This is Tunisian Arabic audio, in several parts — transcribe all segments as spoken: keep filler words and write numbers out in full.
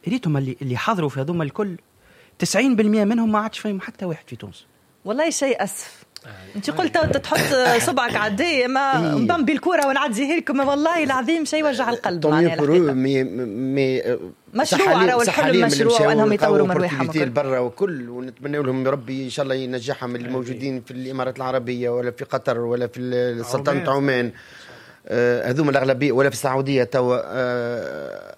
ريتهم اللي اللي حضروا في هذوما الكل، تسعين بالمية منهم ما عادش فيهم حتى واحد في تونس. والله شيء اسف. انت قلت تحط صبعك عالداء، ما إيه. نبمبي الكورة ونعديها لكم. والله العظيم شيء وجع القلب. معناها mais mais مشروع، راهو الحلم مشروع وانهم يطوروا من رواحهم. برا وكل، ونتمنى لهم يا ربي ان شاء الله ينجحهم اللي موجودين في الامارات العربية ولا في قطر ولا في سلطنة عمان، آه، هذوما الاغلبيه، ولا في السعودية توا. آه،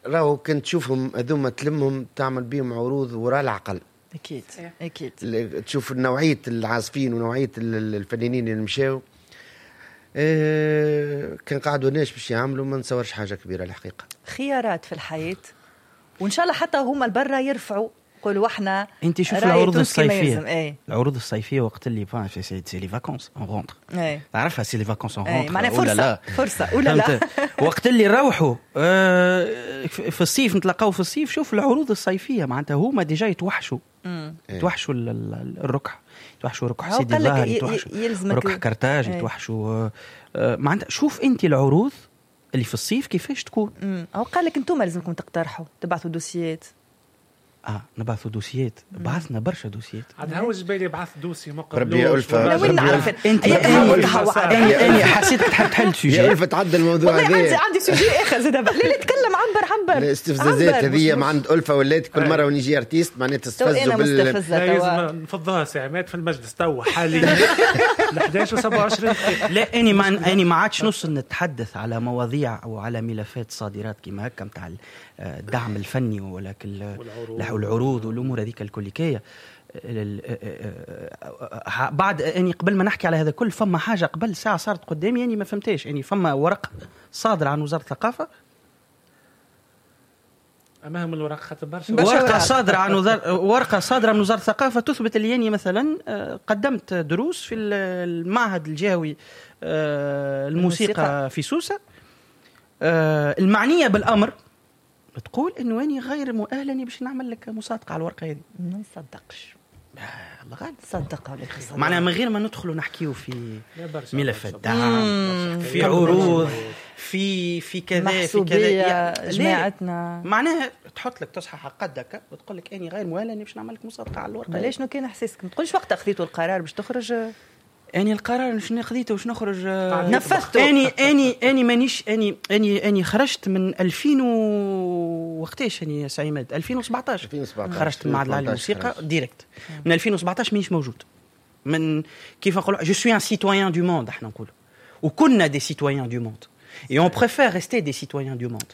راهو كنت تشوفهم هذوما، تلمهم تعمل بهم عروض وراء العقل. اكيد اكيد. تشوف نوعية العازفين ونوعية الفنانين اللي مشاو، اه كان قعدوا ناس باش يعملوا، ما نتصورش حاجة كبيرة الحقيقه. خيارات في الحياه، وان شاء الله حتى هما البرا يرفعوا، قولوا احنا انت شوف العروض الصيفيه، ايه؟ العروض الصيفية وقت اللي c'est c'est les vacances on rentre، تعرفها، c'est les vacances on rentre. معناها فرصه، لا فرصة ولا لا. وقت اللي نروحوا آه في الصيف، نتلاقاو في الصيف، شوف العروض الصيفيه، معناتها هما déjà يتوحشوا، يتوحشوا الركح، يتوحشوا ركح سيدي الظاهر، يتوحشوا ركح كرتاج، يتوحشوا آه، معناتها شوف انت العروض اللي في الصيف كيفاش تكون. او قال لك انتم لازمكم تقترحوا، تبعثوا dossiers. اه، نبعثوا dossiers، بعثنا برشا dossiers. عاد هو الجبالي بعث dossier ما ربي يا ألفة. وين نعرف؟ انت اني اني حسيتك تحب تحل sujet. يا ألفة، تعدل الموضوع. هذا عندي عندي sujet اخر زاد. لا لا، تكلم، عبر عبر. الاستفزازات هذه ما عند ألفة ولات كل مرة ونجي artiste معناتها تستفزوا. بال لازم نفضها سي عماد في المجلس تو حاليا احداش و سبعة وعشرين. لا، اني ما اني ما عادش نوصل نتحدث على مواضيع او على ملفات صادرات كيما هكا نتاع الدعم الفني ولا العروض والامور هذيك الكليكيه. بعد اني قبل ما نحكي على هذا كل، فما حاجة قبل ساعة صارت قدامي، يعني ما فهمتهاش. يعني فما ورقة صادرة عن وزارة الثقافه. امام الورق خاطر برشا. ورقة صادرة عن وزارة ورقة صادرة من وزارة الثقافة تثبت اللي يعني مثلا آه، قدمت دروس في المعهد الجهوي آه، الموسيقى في سوسه. آه، المعنية بالامر تقول انه اني غير مؤهل باش نعمل لك مصادقه على الورقة هذه. ما نصدقش. الله غالب. صدق ولا تصدق. معناها من غير ما ندخلوا نحكيو في ملفات دعم، في عروض، في في كذا في كذا، جماعتنا. معناها تحط لك تصحح قدك وتقول لك اني غير مؤهل اني باش نعمل لك مصادقه على الورقه. علاش؟ شنو كان احساسك؟ ما تقولش وقت اخذيتوا القرار باش تخرج. اني القرار شنو خذيته باش نخرج؟ نفذته. اني اني اني مانيش اني اني اني خرجت من ألفين و وقتاش اني سي عماد؟ ألفين وسبعطاش. ألفين وسبعطاش. خرجت من معهد العالي للموسيقى direct. من ألفين وسبعطاش مانيش موجود. من كيف نقولوا، je suis un citoyen du monde احنا نقولوا، وكنا des citoyens du monde et on préfère rester des citoyens du monde.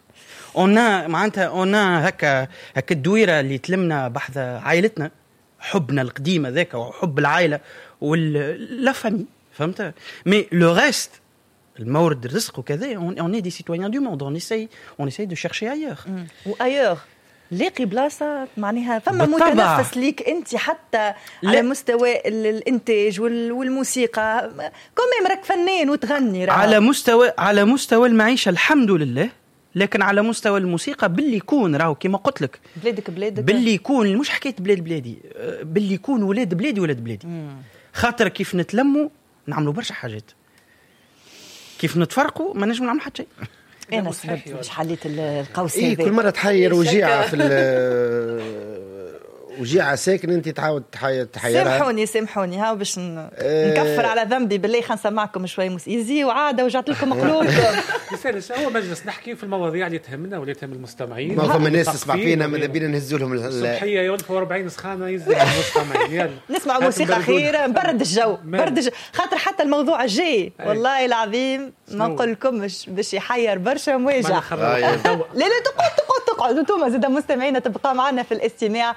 on a معناتها on a هكا هكا الدويره اللي تلمنا بحذا عائلتنا، حبنا القديم هذاك وحب العائلة و la famille، فهمت؟ mais le reste، المورد الرزق وكذا، on est des citoyens du monde، on essaye on essaye de chercher ailleurs. و ailleurs لاقي بلاصه؟ معناها فما متنفس ليك انت حتى لا. على مستوى الانتاج والموسيقى، quand même راك فنان وتغني. راه على مستوى على مستوى المعيشة الحمد لله، لكن على مستوى الموسيقى باللي يكون راهو كما قلت لك. بلادك بلادك. باللي يكون، مش حكاية بلاد بلادي، باللي يكون ولاد بلادي ولاد بلادي. خاطر كيف نتلموا نعملوا برشا حاجات، كيف نتفرقوا ما نجم نعمل حتى شيء. انا سبب باش حليت القوس. إيه، كل مرة تحير وجيعه في وجيعه ساكن انت تعاود تحيرها. سامحوني سامحوني، ها باش نكفر على ذنبي بالله خلينا نسمعكم شوي موسيقى وعاده وجعت لكم قلوبكم. يسالش، هو مجلس نحكي في المواضيع اللي تهمنا واللي تهم المستمعين. ما فما ناس تسمع فينا، ماذا بينا نهزوا لهم. الصبحية يوم أربعين سخانه، يزي المستمعين، يلا. نسمع موسيقى خير، نبرد الجو، برد الجو، خاطر حتى الموضوع الجاي والله العظيم ما نقول لكمش باش يحير برشا مواجع. لا لا، تقعد تقعد تقعد، انتم زاد مستمعينا تبقى معنا في الاستماع.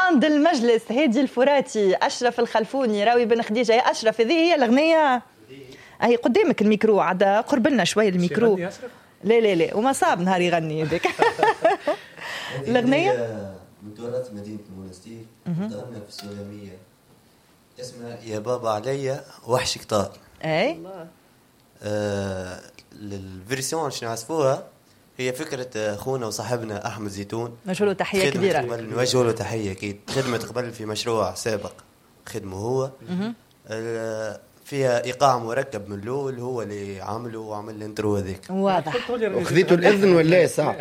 band المجلس، هادي الفراتي، اشرف الخلفوني، راوي بن خديجه. يا اشرف، هذه هي الاغنيه، هي قدامك الميكرو، عاد قرب لنا شوي الميكرو. لا لا لا، وما صاب نهار يغني هذاك الاغنيه. من تراث مدينة المونستير، تغنى في السلاميه، اسمها يا بابا عليا وحشك طار. اي. آه ال version اللي نعزفوها هي فكرة أخونا وصاحبنا أحمد زيتون. نوجه له تحية كبيرة. قبل، نوجه له تحية أكيد. خدمة قبل في مشروع سابق خدمة هو. آه فيها ايقاع مركب من الاول، هو اللي عمله وعمل ال intro هذاك. واضح. وخذيتوا الاذن ولا صح؟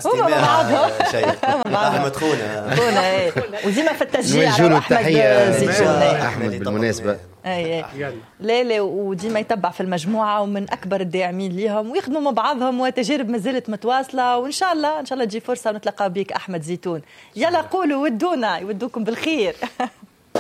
هما مع بعضهم. شيء احمد خونا خونا اي، وديما في التشجيع. نوجه له احمد التحية زيتون احمد بالمناسبة. اي اي، لا لا، وديما يتبع في المجموعة ومن اكبر الداعمين ليهم، ويخدموا مع بعضهم وتجارب ما زالت متواصله، وان شاء الله ان شاء الله تجي فرصة ونتلقى بك احمد زيتون. يلا قولوا ودونا، يودوكم بالخير.